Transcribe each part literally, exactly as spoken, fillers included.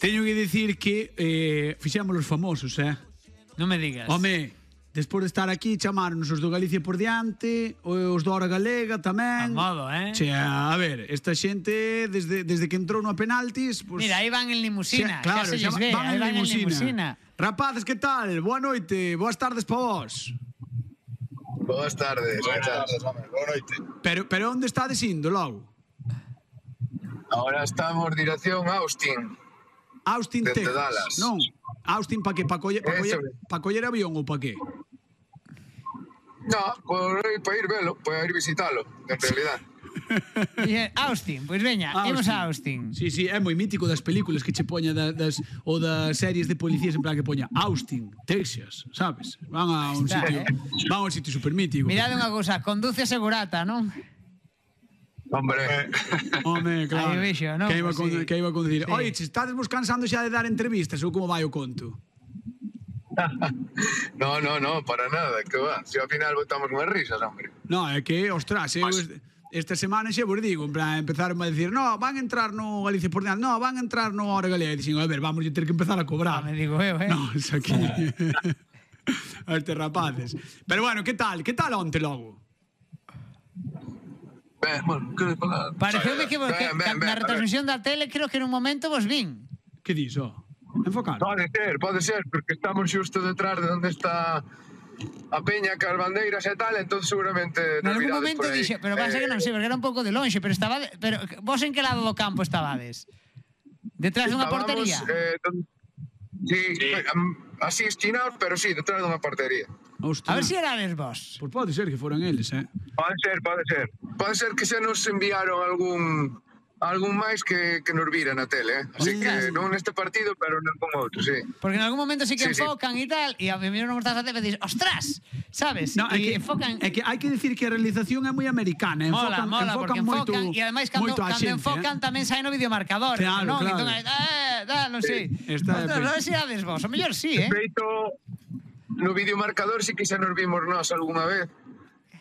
Teño que dicir que eh, fixemos os famosos, eh? Non me digas. Home, despois de estar aquí, chamaron os do Galicia por diante, os do Hora Galega tamén. A modo, eh? Che, a ver, esta xente, desde, desde que entrou no penaltis... Pues, Mira, aí van en limusina, xe, claro, xa se lles ve, van aí en van en limusina. limusina. Rapazes, que tal? Boa noite, boas tardes pa vos. Boas tardes, boas tardes, home, boa noite. Pero, pero onde estades indo, logo? Ahora estamos dirección a Austin. Austin, Desde Texas, Dallas. non? Austin pa que? Pa coller, pa coller, Eso. pa coller avión ou pa que? No, por ir, para ir velo, para ir visitalo, en realidad. E, Austin, pois veña, imos a Austin. Sí, sí, é moi mítico das películas que che poña da, das, ou das series de policías en plan que poña Austin, Texas, sabes? Van a un Está, sitio, eh? van a un sitio super mítico. Mirade unha cousa, conduce segurata, non? Hombre, Home, claro. Aí vexo, non? Que iba, Pues con, sí. que iba a conducir. Sí. Oye, che, estades vos cansando xa de dar entrevistas ou como vai o conto? no, no, no, para nada, que va. Si ao final botamos unhas risas, hombre. No, é que, ostras, eu este- esta semana xa vos digo, en plan, empezaron a decir, no, van a entrar no Galicia por diante, no, van a entrar no Hora Galega. E dixen, a ver, vamos a ter que empezar a cobrar. Ah, me digo eu, eh? No, es aquí. A estes rapaces. Pero bueno, que tal? Que tal onte logo? Ben, bueno, que falar? Pareceume que, vos, que Ben, ben, ben, na a ver. retransmisión da tele creo que en un momento vos vin. Que dis, ó? Enfocar. Pode ser, pode ser, porque estamos xusto detrás de onde está a peña, cas bandeiras e tal, entón seguramente En nos algún virades momento por aí. dixo, pero pasa que non sei, porque era un pouco de lonxe, pero estaba, pero vos en que lado do campo estabades? Detrás dunha Estábamos, portería? Eh, don- sí, sí. Así esquinados, pero sí, detrás dunha portería. A ver se erades vos. Pois pode ser que foran eles, eh? Pode ser, pode ser. Pode ser que se nos enviaron algún algún máis que, que nos vira na tele, eh? Así Ostras. que non neste partido, pero nalgún outro, sí. Porque en algún momento sí que Sí, sí. enfocan e tal, e a mí non me estás a hacer e dices, ostras, sabes? No, é e que, enfocan... é que hai que decir que a realización é moi americana. Mola, Enfocan, mola, enfocan porque moito, enfocan e ademais cando, moito a cando xente, enfocan eh? tamén sai no videomarcador, Claro, non? claro. Entón, eh, da, non sei. Esta é Ostras, pe- non sei se erades vos, o mellor sí, eh? De feito, no videomarcador sí que xa nos vimos nós algunha vez.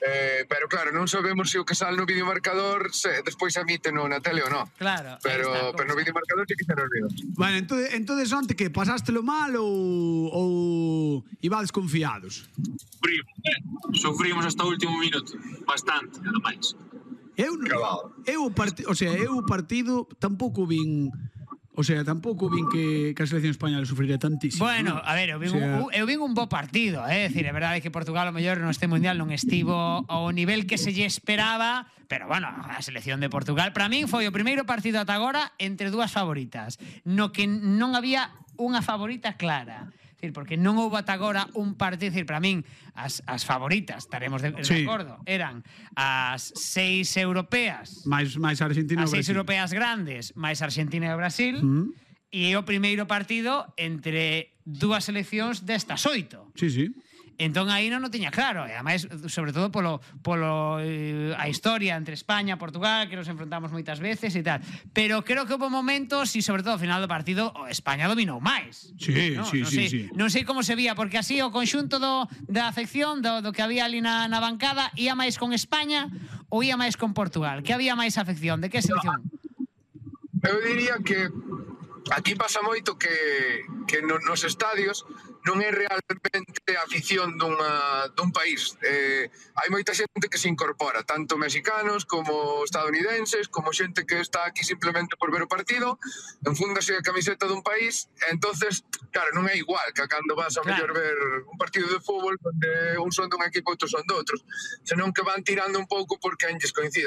Eh, pero claro, non sabemos se o que sale no videomarcador se despois emite no na tele ou non. Claro, aí Pero, está a pero no cousa. videomarcador sí que xa nos vimos. Bueno, entonces, entonces onte que pasástelo mal ou ou ibades confiados? Sufrimos, eh? Sufrimos hasta o último minuto, bastante, ademais. Eu Cabal. eu o partido, o sea, eu o partido tampouco vin, o sea, tampouco vin que, que a selección española sufriría tantísimo. Bueno, ¿no? a ver, eu vin, O sea, un, eu vin un bo partido, eh? É dicir, é verdade que Portugal o mellor neste mundial non estivo ao nivel que se lle esperaba, pero bueno, a selección de Portugal para min foi o primeiro partido ata agora entre dúas favoritas, no que non había unha favorita clara. É dicir, porque non houve ata agora un partido, é dicir, para min as, as favoritas, estaremos de, de Sí. acordo, eran as seis europeas, máis máis Argentina as ou seis Brasil. europeas grandes, máis Argentina e Brasil, Mm. e é o primeiro partido entre dúas seleccións destas oito. Sí, sí. Entón aí non o tiña claro, e ademais, sobre todo polo, polo eh, a historia entre España e Portugal, que nos enfrontamos moitas veces e tal. Pero creo que houve momentos, e sobre todo ao final do partido, o España dominou máis. Sí, non? sí, non sí, sei, sí. Non sei como se vía, porque así o conxunto do, da afección, do, do que había ali na, na bancada, ia máis con España ou ia máis con Portugal? Que había máis afección? De que selección? Eu diría que aquí pasa moito que, que no, nos estadios non é realmente a afición dunha, dun país. Eh, hai moita xente que se incorpora, tanto mexicanos como estadounidenses, como xente que está aquí simplemente por ver o partido, enfúndase a camiseta dun país, e entonces, claro, non é igual que cando vas a Claro. mellor ver un partido de fútbol onde un son dun equipo e outros son de outros, senón que van tirando un pouco porque a enlles coincida.